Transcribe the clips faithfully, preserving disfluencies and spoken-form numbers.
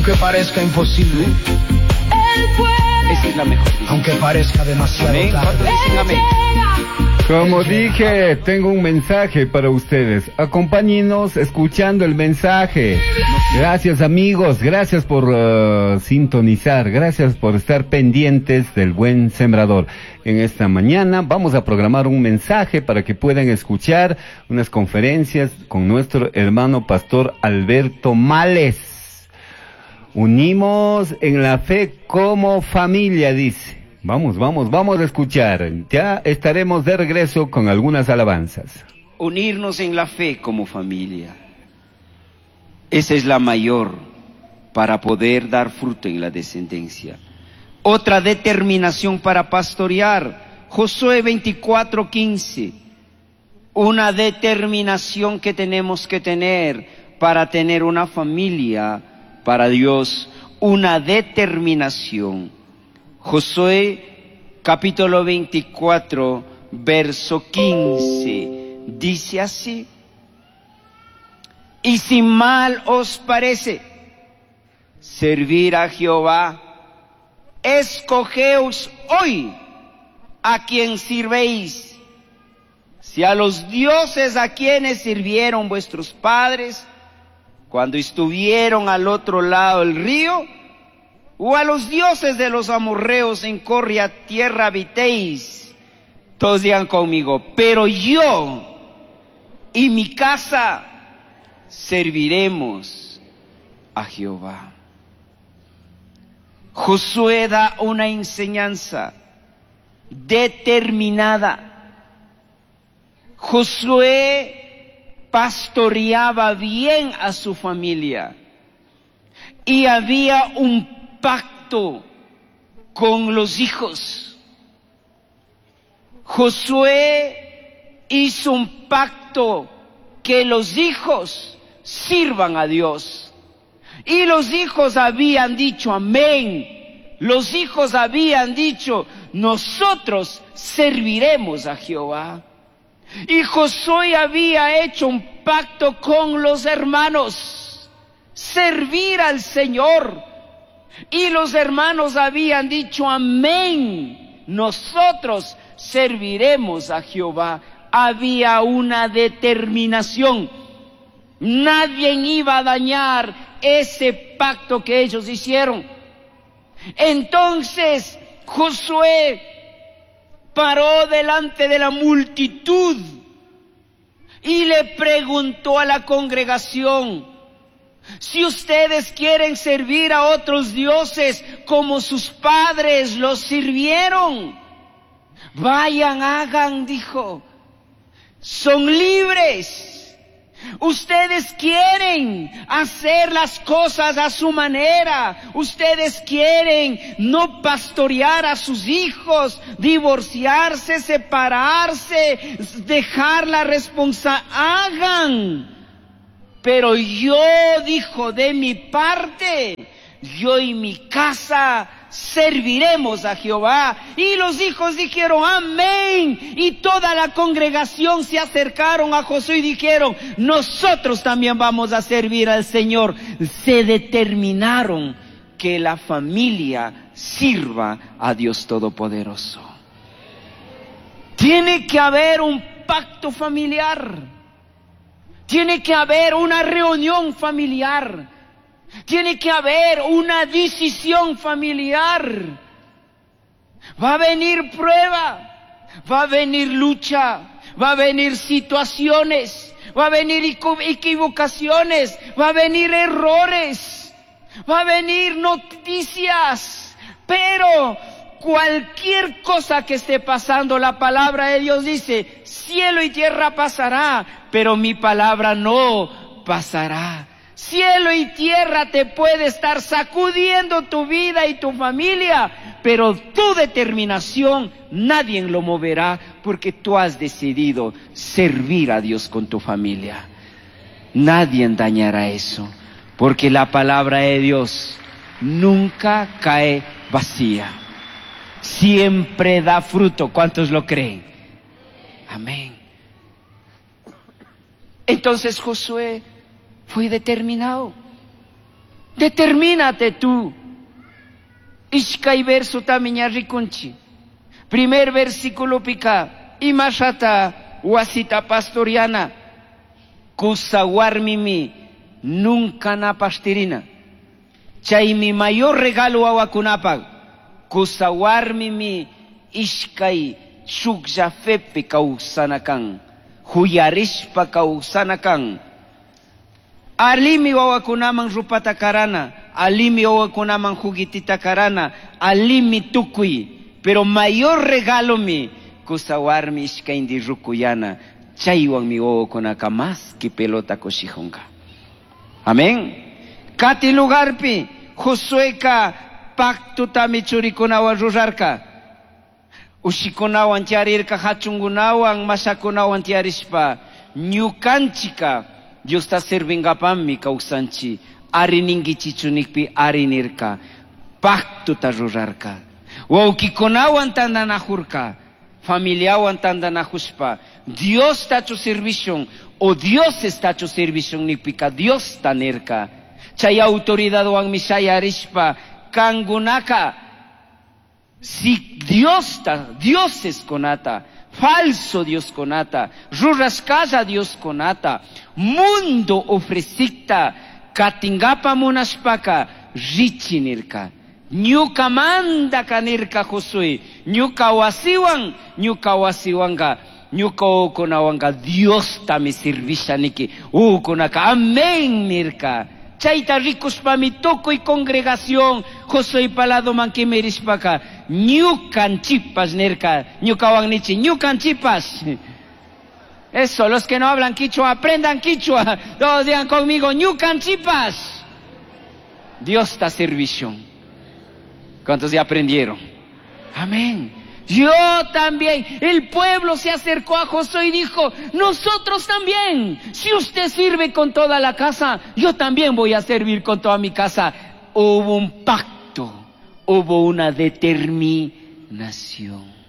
Aunque parezca imposible. Esa es la mejor. Aunque parezca demasiado Amén. tarde. ¿Cuántos dicen amén? Como dije, tengo un mensaje para ustedes. Acompáñenos escuchando el mensaje. Gracias, amigos, gracias por uh, sintonizar, gracias por estar pendientes del Buen Sembrador. En esta mañana vamos a programar un mensaje para que puedan escuchar unas conferencias con nuestro hermano pastor Alberto Males. Unimos en la fe como familia, dice. Vamos, vamos, vamos a escuchar. Ya estaremos de regreso con algunas alabanzas. Unirnos en la fe como familia. Esa es la mayor para poder dar fruto en la descendencia. Otra determinación para pastorear. Josué veinticuatro, quince. Una determinación que tenemos que tener para tener una familia para Dios. Una determinación. Josué capítulo veinticuatro, verso quince, dice así: y si mal os parece servir a Jehová, escogeos hoy a quien sirvéis, si a los dioses a quienes sirvieron vuestros padres cuando estuvieron al otro lado del río, o a los dioses de los amorreos en cuya tierra habitéis. Todos digan conmigo: pero yo y mi casa serviremos a Jehová. Josué da una enseñanza determinada. Josué pastoreaba bien a su familia y había un pacto con los hijos. Josué hizo un pacto que los hijos sirvan a Dios. Y los hijos habían dicho amén. Los hijos habían dicho: nosotros serviremos a Jehová. Y Josué había hecho un pacto con los hermanos, servir al Señor. Y los hermanos habían dicho amén, nosotros serviremos a Jehová. Había una determinación. Nadie iba a dañar ese pacto que ellos hicieron. Entonces Josué paró delante de la multitud y le preguntó a la congregación: si ustedes quieren servir a otros dioses como sus padres los sirvieron, vayan, hagan, dijo, son libres. Ustedes quieren hacer las cosas a su manera. Ustedes quieren no pastorear a sus hijos, divorciarse, separarse, dejar la responsabilidad. Hagan. Pero yo, dijo, de mi parte, yo y mi casa serviremos a Jehová. Y los hijos dijeron amén. Y toda la congregación se acercaron a Josué y dijeron: nosotros también vamos a servir al Señor. Se determinaron que la familia sirva a Dios Todopoderoso. Tiene que haber un pacto familiar. Tiene que haber una reunión familiar. Tiene que haber una decisión familiar. Va a venir prueba, va a venir lucha, va a venir situaciones, va a venir equivocaciones, va a venir errores, va a venir noticias. Pero cualquier cosa que esté pasando, la palabra de Dios dice: cielo y tierra pasará, pero mi palabra no pasará. Cielo y tierra te puede estar sacudiendo tu vida y tu familia, pero tu determinación nadie lo moverá, porque tú has decidido servir a Dios con tu familia. Nadie dañará eso, porque la palabra de Dios nunca cae vacía. Siempre da fruto. ¿Cuántos lo creen? Amén. Entonces Josué fue determinado. Determínate tú. Ishkay verso tami ña rikunchi. Primer versículo pika. Imashata wasita pastoriana. Kusa warmimi nunca na pastirina. Chaymi mayor regalo wawakunapaq. Kusa warmimi ishkay shuklla fepi kawsana kan. Huyarishpa kawsana kan. Alimi wawakunaman rupata karana, alimi wawakunaman juguitita karana, alimi tukuy. Pero mayor regalo mi kusa warmi ishkayndi rukuyana, chaywanmi wawakunaka más que pelota kushijunka. Amén. Kati lugarpi Josueka pacto tami churikunawan rurarka. Ushikunawan tiarirka, hachungunawan, mashakunawan tiarishpa, ñukanchika Diosta servingapammi kawsanchi, ari ningichichu nikpi ari nirka, pactuta rurarka. Wawkikunawan tandanajurka, familiawan tandanajushpa, Dios tachu servishun, o Dios estachu servishun nikpika Dios ta nirka. Chay autoridadwanmi shayarishpa, kangunaka, si Dios ta, dioses kunata, falso Dios kunata, rurashkalla Dios kunata, mundo ofrecikta, katingapa munashpaka, richi nirka. Ñuka mandaka nirka Josué, ñuka wasiwan, ñuka wasiwanka, ñuka ukunawanka Dios tami servisha niki, ukunaka amén nirka. Chayta rikushpami tukuy congregación Josué palado mankimirishpaka, ñukanchipas nirka, ñukawan nichi, ñukanchipas. Eso, los que no hablan quichua, aprendan quichua. Todos digan conmigo, ñukanchipas. Dios está servicio. ¿Cuántos ya aprendieron? Amén. Yo también. El pueblo se acercó a Josué y dijo, nosotros también. Si usted sirve con toda la casa, yo también voy a servir con toda mi casa. Hubo un pacto, hubo una determinación.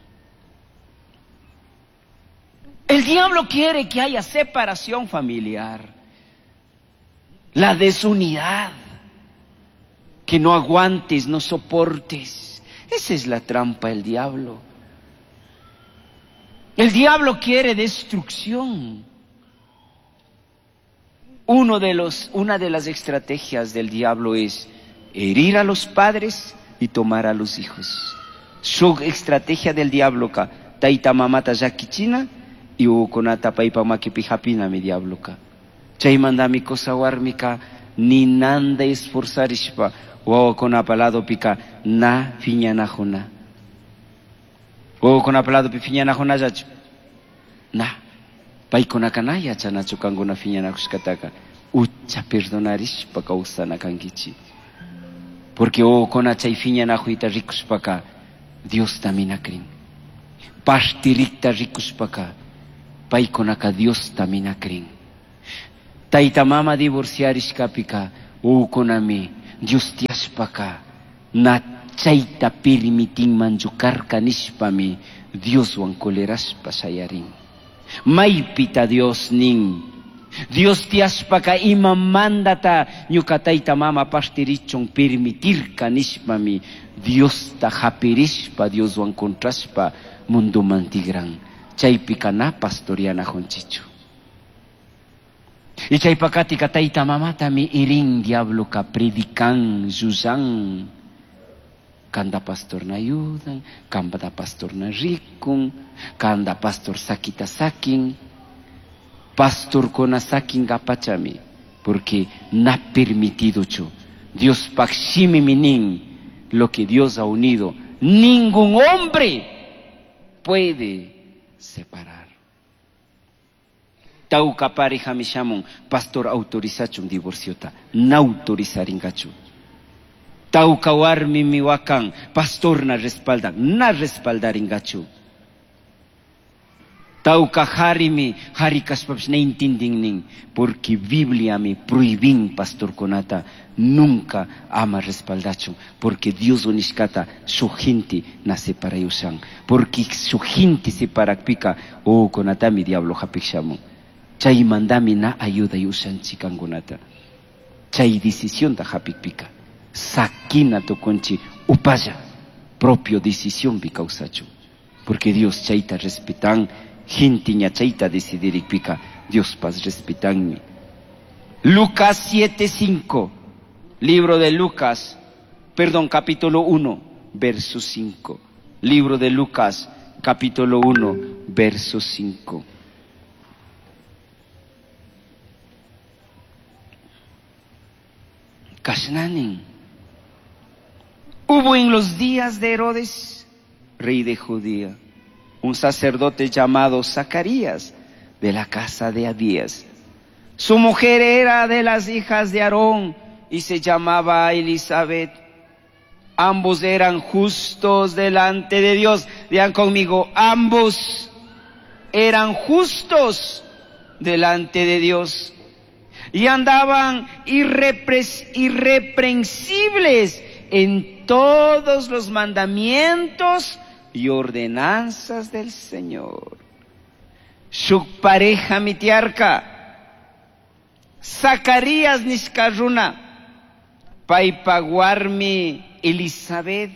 El diablo quiere que haya separación familiar, la desunidad, que no aguantes, no soportes. Esa es la trampa del diablo. El diablo quiere destrucción. Uno de los, una de las estrategias del diablo es herir a los padres y tomar a los hijos. Su estrategia del diablo ka, tayta mamata llakichina y ukunata paypa makipi hapina mi diablo ka. Chaymantami kusa warmika ninanda esforzarishpa wawakunapa ladopika na phiñanajuna. Wawakunapa ladopi phiñanajunallachu? Na. Paykunaka na yachanachu kankuna phiñanajushkataka. Ucha perdonarishpa kawsana kankichik. Porque wawakuna chay phiñanajuyta rikushpaka Diosta mina krin. Partirikta rikushpaka paykunaka Diosta mina krin. Tayta mama divorciarishkapika wawakunami Dios tiyashpaka na chayta permitinmanchu karka nishpami Dioswan colerashpa shayarin. Maypita Dios nin. Dios tiyashpaka imamandata ñuka tayta mama partirichun permitirka nishpami Diosta hapirishpa Dioswan contrashpa munduman tigran. Chaypika na pastorianajunchichu. Y chaypakatika tayta mamatami irin diabloka predican, llullan. Kanda pastor na ayudan, kanda pastor na rikun, kanda pastor sakita sakin. Pastor kona sakin gapachami, porque na permitido chu. Dios pakshimi minin, lo que Dios ha unido, ningún hombre puede separar. Tauka pareja mishamun, pastor autorizachun divorciota, na autorizaringachu. Tauka warmi miwakan, pastor na respaldan, na respaldaringachu. Tauka harimi, hari kashpapish na intindin porque Biblia mi prohibin pastor kunata, nunca ama respaldachun, porque Dios unishkata su gente na separayushan, porque su gente separakpika, oh kunatami diablo hapikshamun. Chaymantami na ayuda yushanchik kankunata. Chay decisión ta hapikpika. Sakina tukunchi upalla. Propio decisión bi kawsachun. Porque Dios chayta respetan. Jintiña chayta decidirikpika. Dios paz respetanmi. Lucas siete cinco. Libro de Lucas, perdón, capítulo uno, verso cinco. Libro de Lucas, capítulo uno, verso cinco. Kashnanin. Hubo en los días de Herodes, rey de Judea, un sacerdote llamado Zacarías, de la casa de Abías. Su mujer era de las hijas de Aarón y se llamaba Elizabeth. Ambos eran justos delante de Dios. Digan conmigo, ambos eran justos delante de Dios. Y andaban irrepres- irreprensibles en todos los mandamientos y ordenanzas del Señor. Su pareja mitiarca, Zacarías nishkaruna, paypa warmi Elizabeth,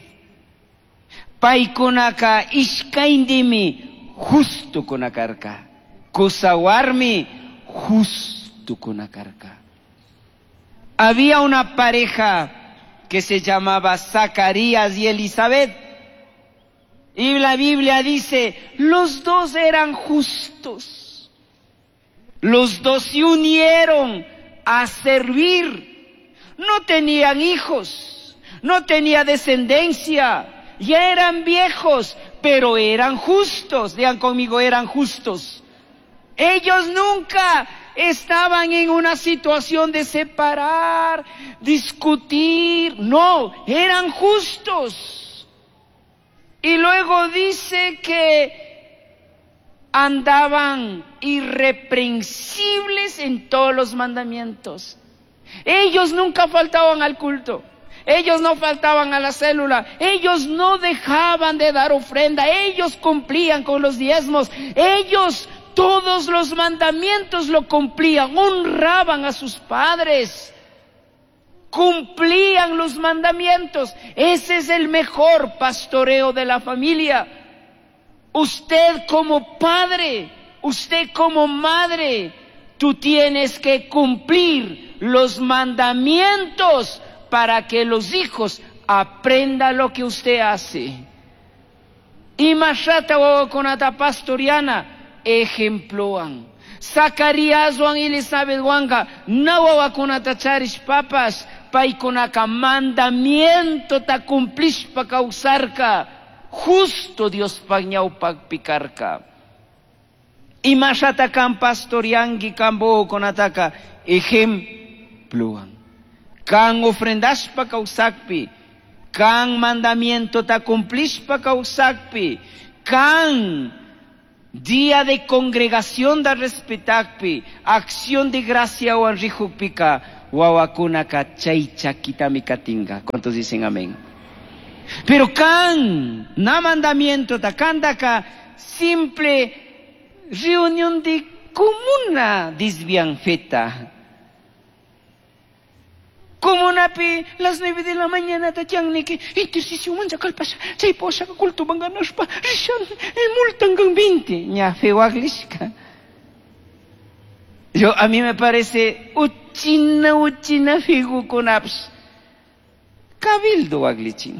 paykunaka ishkayndimi justo kunakarka, kusawarmi justo kunakarka. Había una pareja que se llamaba Zacarías y Elizabeth. Y la Biblia dice, los dos eran justos. Los dos se unieron a servir. No tenían hijos, no tenía descendencia, ya eran viejos, pero eran justos. Digan conmigo, eran justos. Ellos nunca estaban en una situación de separar, discutir. No, eran justos. Y luego dice que andaban irreprensibles en todos los mandamientos. Ellos nunca faltaban al culto. Ellos no faltaban a la célula. Ellos no dejaban de dar ofrenda. Ellos cumplían con los diezmos. Ellos todos los mandamientos lo cumplían. Honraban a sus padres. Cumplían los mandamientos. Ese es el mejor pastoreo de la familia. Usted como padre, usted como madre, tú tienes que cumplir los mandamientos para que los hijos aprendan lo que usted hace. Y mashata wawakunata pastoriana ejemploan. Zacarías wan Elizabeth wanka na wawakunata charish papas paykunaka mandamiento ta cumplishpa kawsarka justo Dios ñawpaqpi karka. Y mashata kan pastorianki kan wawakunataka ejemploan. Kan ofrendashpa kawsakpi, kan mandamiento ta cumplishpa kawsakpi, kan día de congregación da respetakpi, acción de gracia wan rijukpika, wawakunaka chay chakitami katinga. ¿Cuántos dicen amén? Pero kan, na mandamiento ta kandaka, simple reunión de comuna desvian feta. Comunapi, las nueve de la mañana, tachangniki, intercesión mancha kalpasha, chay posha culto banganashpa, rishan, multan veinte, ña fewaglishka. Yo, a mí me parece, uchina, uchina figukunaps. Cabildo waglichin.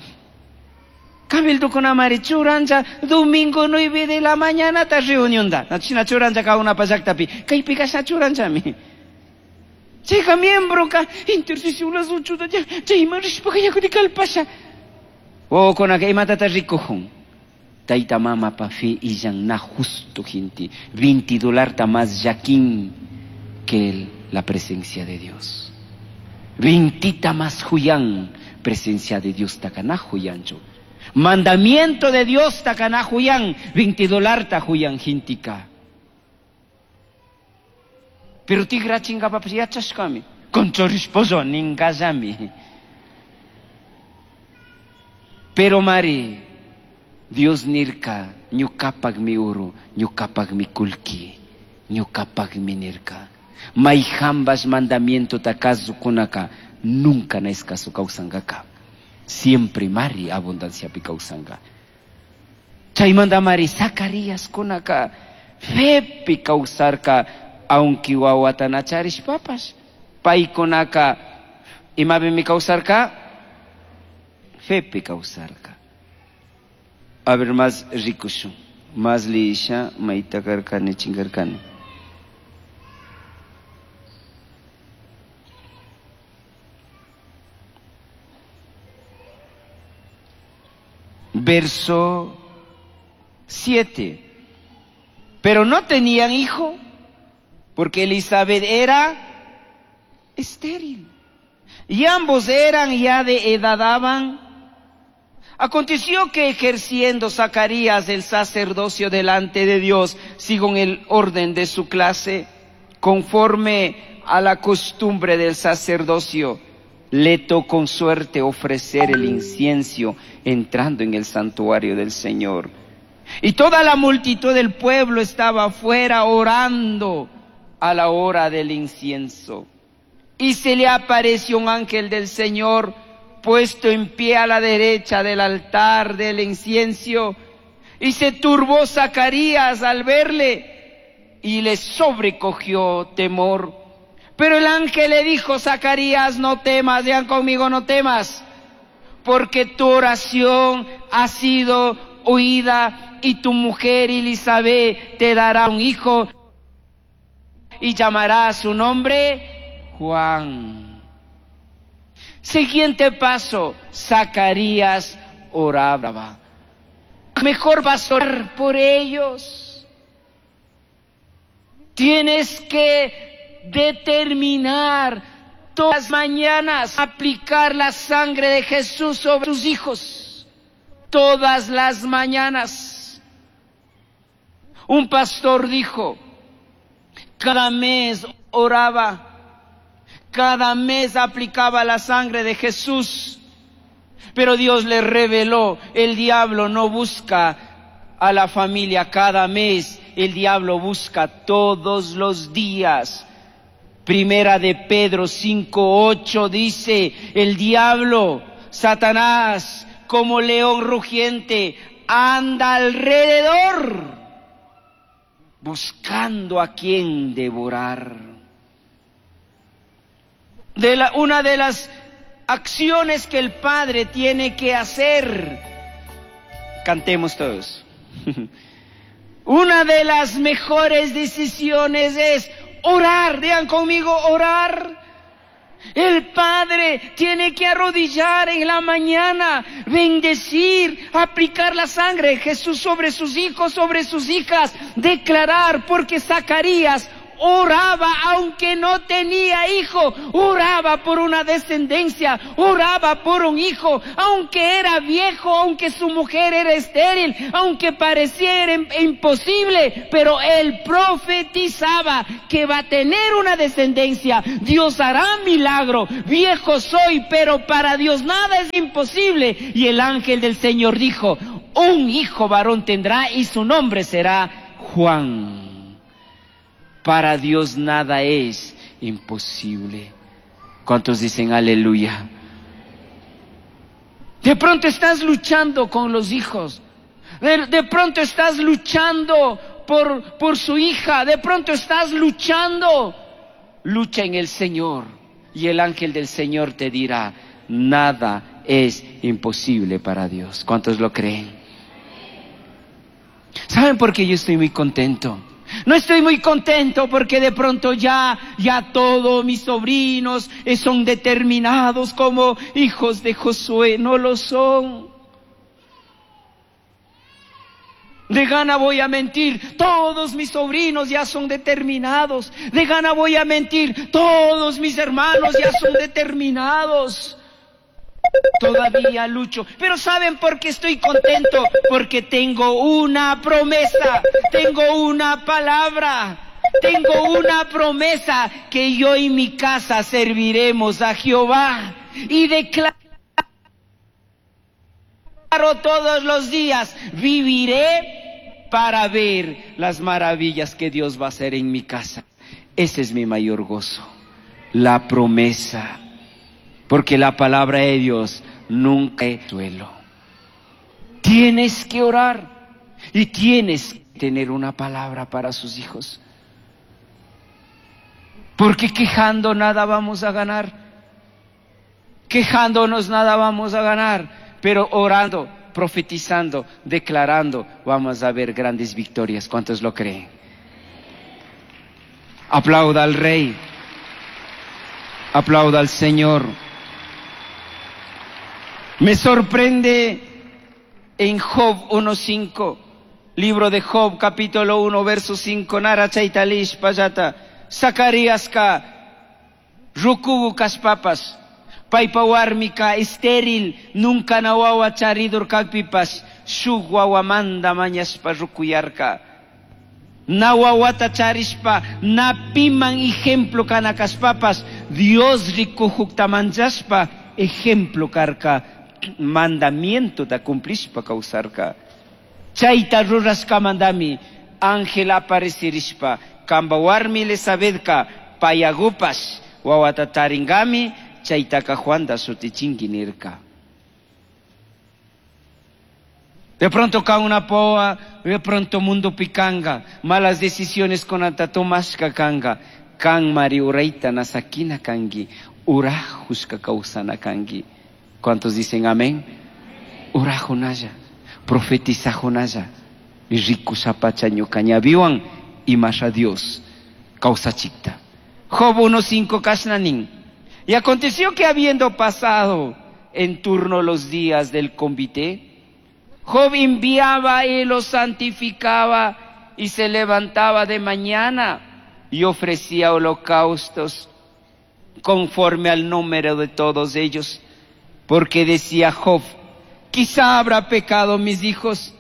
Cabildo con amari churanja, domingo nueve de la mañana, ta reunión da. Nachina churanja ka una pasaktapi, kaypi kasha churanjami. Chayka miembro ka intercesión las ocho da chayman rishpa yakuti kalpasha. Wawakunaka imatata rikujun. Tayta mama pa fe illan na justo gente. veinte dólar más yaquín que el, la presencia de Dios. Veintita más juyan, presencia de Dios takana juyancho. Mandamiento de Dios takana juyan, veinte dólar ta juyan jintika. Pero tigra chinga papas yachashkami, conchorisposo ningazami. Pero mari, Dios nirka, ñukapak mi uru, ñukapak mi kulki, ñukapak mi nirka. Maijanbash mandamientota kasukunaka nunca na escaso kawsankaka. Siempre mari abundanciapi kawsanka. Chaymanta mari Zacarías kunaka fepi kawsarka aunque wawata na charishpapash. Paykunaka imapimi kawsarka? Fepi kawsarka. A ver, más rikushun. Más liyisha mayta karkani chinkarkani. Verso siete. Pero no tenían hijo, porque Elizabeth era estéril. Y ambos eran ya de edad avanzada. Aconteció que ejerciendo Zacarías el sacerdocio delante de Dios, según el orden de su clase, conforme a la costumbre del sacerdocio, le tocó con suerte ofrecer el incienso entrando en el santuario del Señor. Y toda la multitud del pueblo estaba afuera orando a la hora del incienso. Y se le apareció un ángel del Señor puesto en pie a la derecha del altar del incienso. Y se turbó Zacarías al verle y le sobrecogió temor. Pero el ángel le dijo: Zacarías, no temas, digan conmigo, no temas, porque tu oración ha sido oída y tu mujer Elizabeth te dará un hijo y llamará a su nombre Juan. Siguiente paso, Zacarías oraba. Mejor vas a orar por ellos. Tienes que determinar todas las mañanas aplicar la sangre de Jesús sobre tus hijos. Todas las mañanas. Un pastor dijo, cada mes oraba, cada mes aplicaba la sangre de Jesús. Pero Dios le reveló, el diablo no busca a la familia cada mes, el diablo busca todos los días. Primera de Pedro cinco ocho dice, el diablo, Satanás, como león rugiente, anda alrededor, buscando a quien devorar. De la, una de las acciones que el padre tiene que hacer, cantemos todos. Una de las mejores decisiones es orar. Digan conmigo, orar. El padre tiene que arrodillar en la mañana, bendecir, aplicar la sangre de Jesús sobre sus hijos, sobre sus hijas, declarar, porque Zacarías oraba aunque no tenía hijo, oraba por una descendencia, oraba por un hijo, aunque era viejo, aunque su mujer era estéril, aunque pareciera imposible, pero él profetizaba que va a tener una descendencia. Dios hará milagro. Viejo soy, pero para Dios nada es imposible. Y el ángel del Señor dijo, un hijo varón tendrá y su nombre será Juan. Para Dios nada es imposible. ¿Cuántos dicen aleluya? De pronto estás luchando con los hijos. De, de pronto estás luchando por, por su hija. De pronto estás luchando. Lucha en el Señor. Y el ángel del Señor te dirá, nada es imposible para Dios. ¿Cuántos lo creen? ¿Saben por qué yo estoy muy contento? No estoy muy contento porque de pronto ya, ya todos mis sobrinos son determinados como hijos de Josué. No lo son. De gana voy a mentir, todos mis sobrinos ya son determinados. De gana voy a mentir, todos mis hermanos ya son determinados. Todavía lucho, pero ¿saben por qué estoy contento? Porque tengo una promesa, tengo una palabra, tengo una promesa que yo y mi casa serviremos a Jehová. Y declaro todos los días, viviré para ver las maravillas que Dios va a hacer en mi casa. Ese es mi mayor gozo, la promesa. Porque la palabra de Dios nunca es suelo. Tienes que orar y tienes que tener una palabra para sus hijos. Porque quejando nada vamos a ganar. Quejándonos nada vamos a ganar. Pero orando, profetizando, declarando, vamos a ver grandes victorias. ¿Cuántos lo creen? Aplauda al Rey. Aplauda al Señor. Me sorprende en Job uno cinco, libro de Job, capítulo uno, verso cinco, Nara chaitalish payata, Zacaríasca, rukugu kaspapas, paypa warmika estéril, nunca na wawa charidur kakpipas, shuk wawamanda mañashpa rukuyarka. Na wawata charishpa, na piman ejemplo kana kaspapas, Dios rikuhukta manchashpa, ejemplo karka, mandamiento ta cumplishpa kawsarka. Chayta rurashka mandami, ángel aparecirishpa, kamba warmi Elizabethka, payagupas, wawata taringami, chaytaka Juanda shutichinki nirka. De pronto cae una poa, de pronto mundo picanga, malas decisiones con atatomashka kanga, kan mari uraita nasakina kangi, urajushka kausana kangi. ¿Cuántos dicen amén? Urajunaya, profetizajunaya, y rico sapacha ñucañabiwan, y más a Dios, causa chicta. Job uno cinco kashnanin. Y aconteció que habiendo pasado en turno los días del convite, Job enviaba y los santificaba y se levantaba de mañana y ofrecía holocaustos conforme al número de todos ellos. Porque decía Job, quizá habrá pecado mis hijos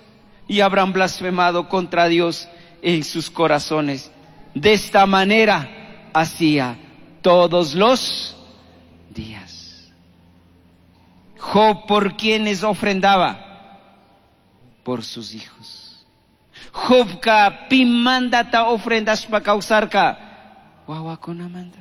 y habrán blasfemado contra Dios en sus corazones. De esta manera hacía todos los días. Job, ¿por quienes ofrendaba? Por sus hijos. Jobka pimandata ofrendas pa causarka. Wawakunamanda.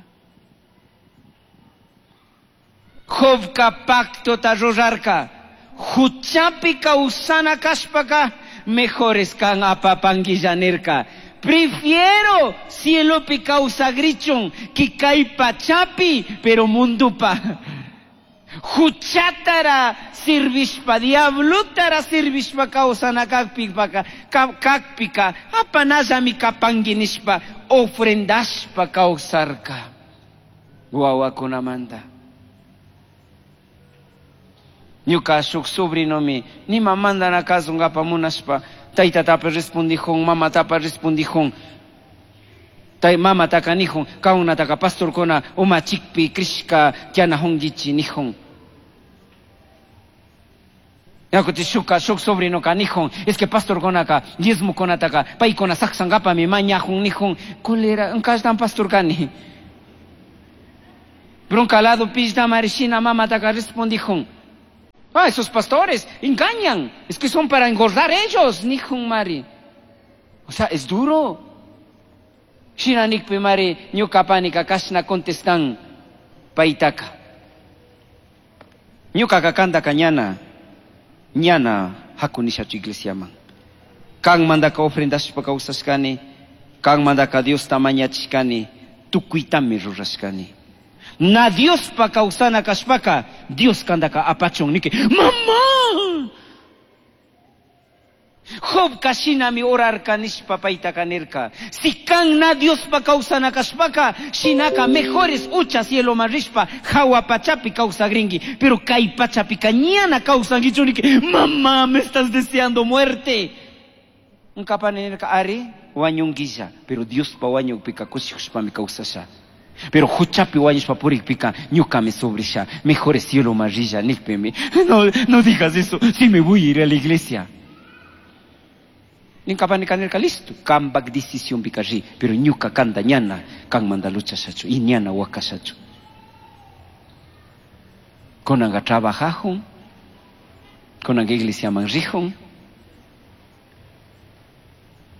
Jobka pacto ta rurarka. Huchapi causana kaspaka. Mejores kan apapanguillanerka. Prefiero cielopi causagrichon que kai pachapi, pero mundupa. Huchatara sirvishpa, diablutara sirvishpa causana kakpika, kakpika, apanallami kapanguinishpa, ofrendashpa causarka. Wawakunamanda. Ñuka shuk sobrinomi, nima mandana kazungapa munashpa, taytatapa respondijun, mamatapa respondijun, tay mamataka nijun, kaunataka pastorkuna umachikpi krishka kianahungichi nijun. Yakuti shuka shuk sobrinoka nijun, es que pastorkunaka diezmokunataka paykuna saksankapami mañajun nijun, kolera, nkashtan pastor kani. Bronca lado pishta marishina mamataka respondijun. Ah, esos pastores engañan, es que son para engordar ellos, nijun mari. O sea, es duro. Shina nikpi mari, ñuka panika kashna contestan paitaka. Ñuka kakanda kañana, ñana hakunishachu iglesia man. Kan mandaka ofrendashpa kawsashkani, kan mandaka Dios tamañachishkani, tukuytami rurashkani. Na Dios pa kawsana kashpaka, Dios kandaka apachon niki, mamá! Job kashinami orarka nishpa paitaka nirka. Si kan na Dios pa kawsana kashpaka, shinaka mejores ucha cielo marishpa, hawa pachapi kawsagringi, pero kay pachapi kañana kawsangichu niki, mamá, me estás deseando muerte. Nkapanirka ari, wañunguilla, pero Dios pa wañukpika kushikushpami kawsasha. Pero huchapi wañushpa purikpika ñukami sobrisha, mejor es cielo marilla, nikpemi. No, no digas eso, si me voy a ir a la iglesia. Ninkapanika listo, kambak decisión pika ri, pero ñuka kanda ñana, kan manda lucha shachu, y ñana wakashachu. Konanga trabajajun, konanga iglesia manrijun,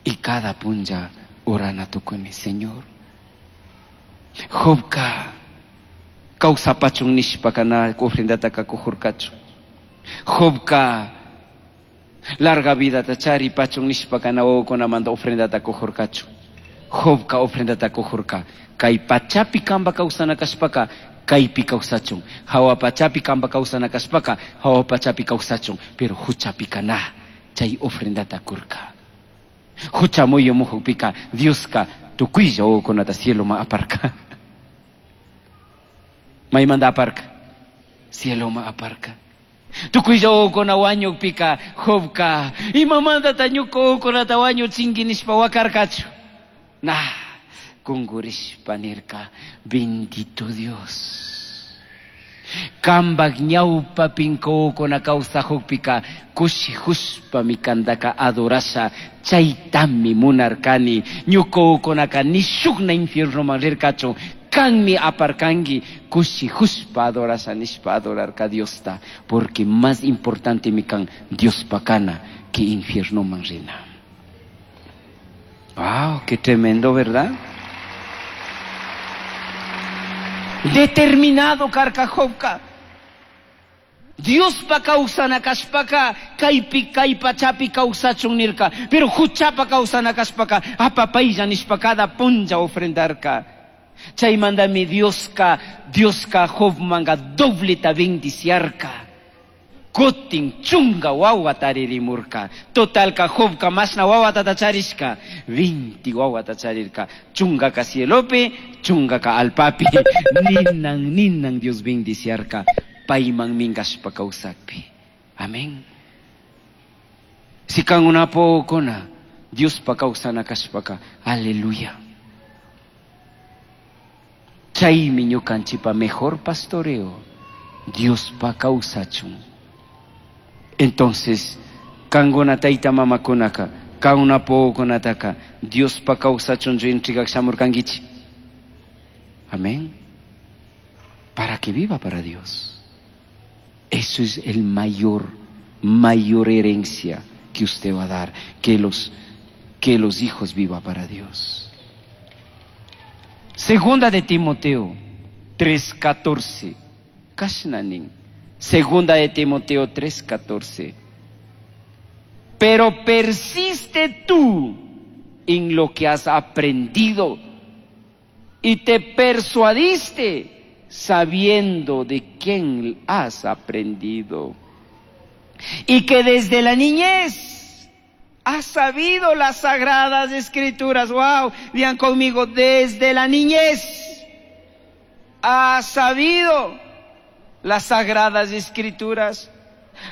y cada punja orana tukuni, Señor. Jobka kawsapachun nishpaka na ofrendataka kujurkachu. Jobka larga vidata charipachun nishpaka na wawakunamanta ofrendata kujurkachu. Jobka ofrendata kujurka. Kay pachapi kamba kawsana kashpaka kaypi kawsachun. Hawa pachapi kamba kawsana kashpaka hawa pachapi kawsachun. Pero huchapika na chay ofrendata kurka. Hucha muyumujukpika Dioska tukuylla wawakunata cieloma aparka. Maymanta aparka? Cieloma aparka. Tukuylla wawakuna wañukpika Jobka imamantata ñuka wawakunata wañuchinki nishpa wakarkachu. Na kungurishpa nirka, bendito Dios. Kambak ñawpapin wawakuna kawsajukpika kushijushpami kantaka adorasha, chaytami munarkani. Ñuka wawakunaka ni shukna infiernoman rirkachu, kanmi aparkanki kushijushpa adorasha nishpa adorarka Diosta, porque más importante mi kan Diospa kana que infiernoman rina. Wow, qué tremendo, ¿verdad? Determinado karka Jobka. Diospa kawsana kashpaka kaypi kay pachapi kawsachun nirka, pero huchapa kawsana kashpaka apapaylla nishpa cada punlla ofrendarka. Chaymantami Dioska, Dioska Jobmanga dobleta bendiciarka. Kutin chunga wawata ririmurka. Totalka Jobka masna wawata tacharishka. Vinti wawata charirka. Chungaka cielopi, chungaka alpapi. Ninan, ninan Dios bendiciarka. Payman mingashpa kawsakpi. Amén. Si kan una pokona, Diospa kawsana kashpaka. Aleluya. Chaymi ñukanchipa mejor pastoreo. Diospa kawsachun. Entonces, kanguna tayta mamakunaka, kauna pokunataka, Diospa kawsachun entregar shamurkankichi. Amén. Para que viva para Dios. Eso es el mayor, mayor herencia que usted va a dar, que los, que los hijos viva para Dios. Segunda de Timoteo tres catorce. Kashnanin. Segunda de Timoteo tres catorce. Pero persiste tú en lo que has aprendido y te persuadiste sabiendo de quién has aprendido. Y que desde la niñez has sabido las sagradas escrituras. Wow, digan conmigo, desde la niñez has sabido las sagradas escrituras,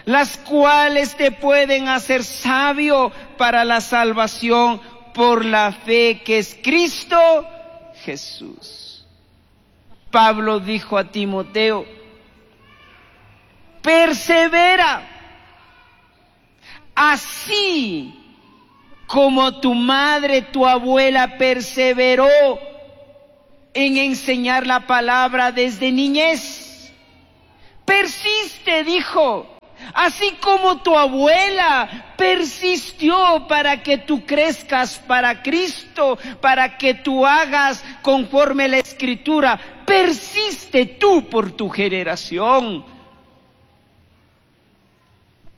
las cuales te pueden hacer sabio para la salvación por la fe que es Cristo Jesús. Pablo dijo a Timoteo, persevera, así como tu madre, tu abuela perseveró en enseñar la palabra desde niñez. Persiste, dijo, así como tu abuela persistió para que tú crezcas para Cristo, para que tú hagas conforme la Escritura. Persiste tú por tu generación.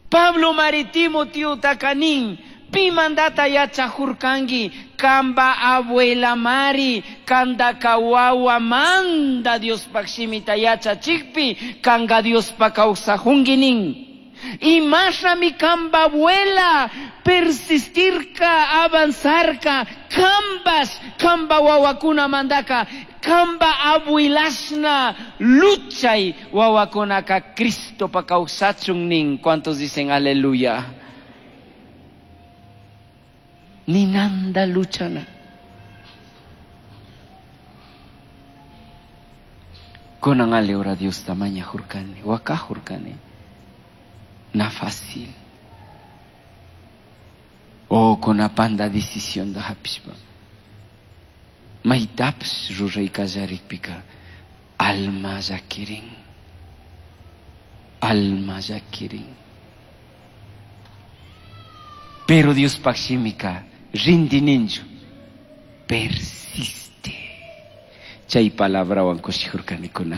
Pablo Maritimo Tío Tacanín, pimandata yachajurkangi, kamba abuela mari, kanda kawawa manda Dios pakshimita yachachikpi, kanga Dios pa kawsajunginin. Y masha mi kamba abuela, persistirka, avanzarka, kambas, kamba wawakuna mandaka, kamba abuelashna, luchay wawakunaka Cristo pa kawsachungnin. ¿Cuántos dicen aleluya? Ninanda luchana. Kunan ale ora Dios tamaña jurkani, waka jurkani. Na fácil. O con panda decisión da hapishpa. Maitaps ruray kallarikpika. Alma yakirin. Alma yakirin. Pero Dios pakshimika rindi ninchu. Persiste. Chay palabrawan kushijurkanikuna.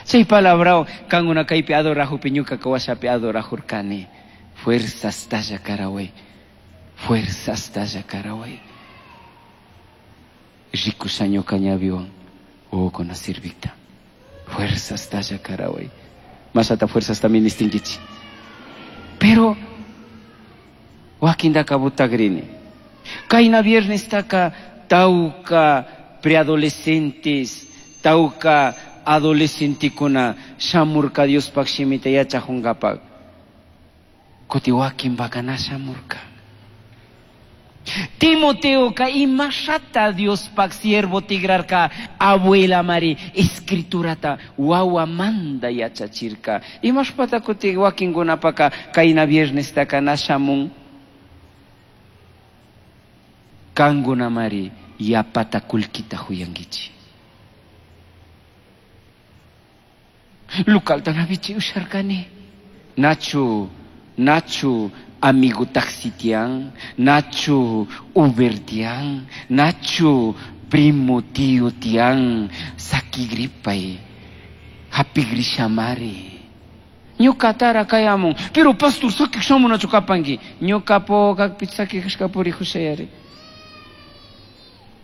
Chay palabrawan kankuna kaypi adorajupi ñukaka washapi adorajurkani. Fuerzastalla karaway. Fuerzastalla karaway. Rikusha ñuka ñawiwan wawakuna sirvikta. Fuerzastalla karaway. Mashata fuerzasta ministinkichi. Pero wakindaka butagrini. Kayna viernestaka tawka preadolescentes, tawka adolescentekuna shamurka Diospaj shimita yachajunkapak. Kuti wakinpaka na shamurka. Timoteoka imashata Diospaj siervo tigrarka abuela mari escriturata wawamanda yachachirka. Imashpata kuti wakinkunapaka kayna viernestaka na shamun. Kankuna mari yapata kullkita huyankichi. Localta na vichi usharkani. Nachu, nachu amigo taxi tiyan, nachu Uber tiyan, nachu primo tío tiyan, sakigripay, hapigrishamari. Ñukatara kayamun, pero pastor sakik shamunachu kapanki. Ñukapo kakpi sakikashka purijushayari.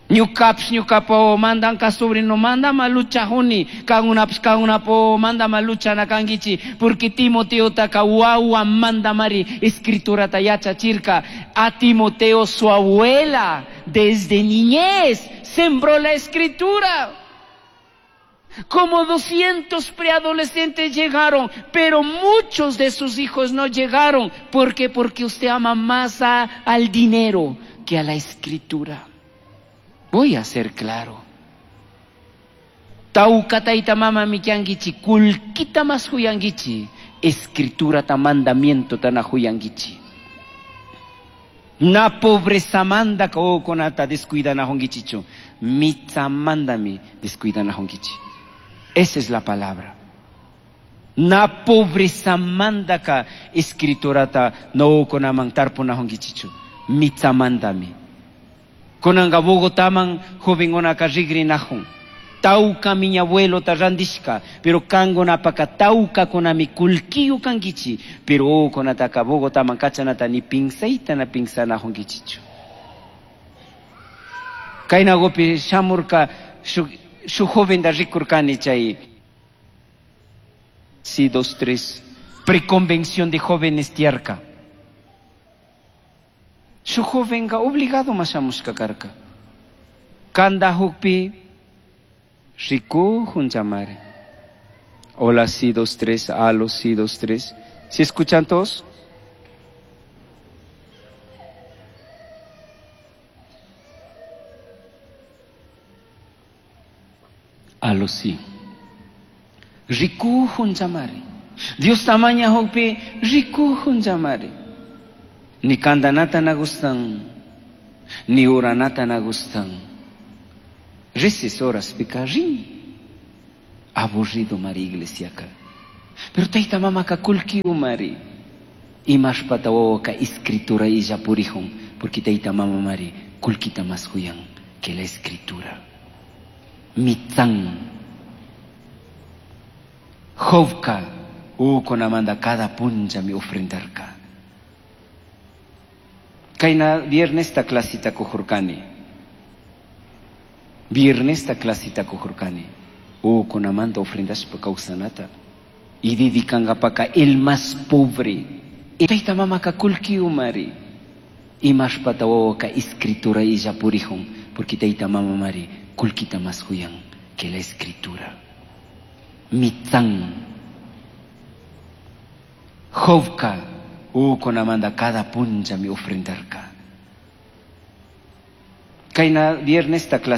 Ñukapish ñukapo mandanka sobrino mandama luchajuni, kangunapish kangunapo mandama luchana kankichi, porque Timoteotaka wawa mandamari escriturata yachachirka. A Timoteo su abuela desde niñez sembró la escritura. Como doscientos preadolescentes llegaron, pero muchos de sus hijos no llegaron. ¿Por qué? Porque usted ama más a, al dinero que a la escritura. Voy a ser claro. Tawka tayta mama kankichi, kullkita mas huyankichi, escritura ta mandamiento ta na huyankichi. Na pobreza manda wawakunata descuidanajunkichichu, mitsamandami descuidanajunkichi. Esa es la palabra. Na pobreza mandaka escriturata no wawakunaman tarpunajunkichichu, mitsamandami. Kunanka Bogotaman jovenkunaka rigrinajun. Tawka mi abuelo ta randishka, pero kankunapaka tawkakunami kullkiyu kankichi, pero wawakunataka Bogotaman kachanata ni pinsayta na pinsanajunkichichu. Kaynakupi shamurka shuk shuk joventa rikurkani chay sí, dos, tres, preconvención de jóvenes tiyarka. Shuk jovenka obligado ma shamushka karka. Kandajukpi rikujunllamari. Hola, sí, dos, tres, alo, sí, dos, tres. ¿Sí escuchan todos? Alo, sí. Rikujunllamari. Diosta mañajukpi rikujunllamari. Ni kandanata na gustan, ni oranata na gustan. Reces horas pika rin. Aburrido mari iglesiaka. Pero tayta mamaka kullkiyu mari. Imashpata wawaka escritura illa purijun, porque tayta mama mari kullkita mas huyan que la escritura. Mitsan. Jobka wawakunamanda cada punllami ofrendarka. Kayna viernesta clasita kujurkani. Viernesta clasita kujurkani. Wawakunamanda ofrendashpa kawsanata. Y dedicankapaka el más pobre. Tayta mamaka kullkiyu mari. Imashpata wawaka escritura illa purijun, porque tayta mama mari kullkita mas huyan que la escritura. Mitsan. Jobka wawakunamanda cada punllami ofrendarka. Kayna viernesta clase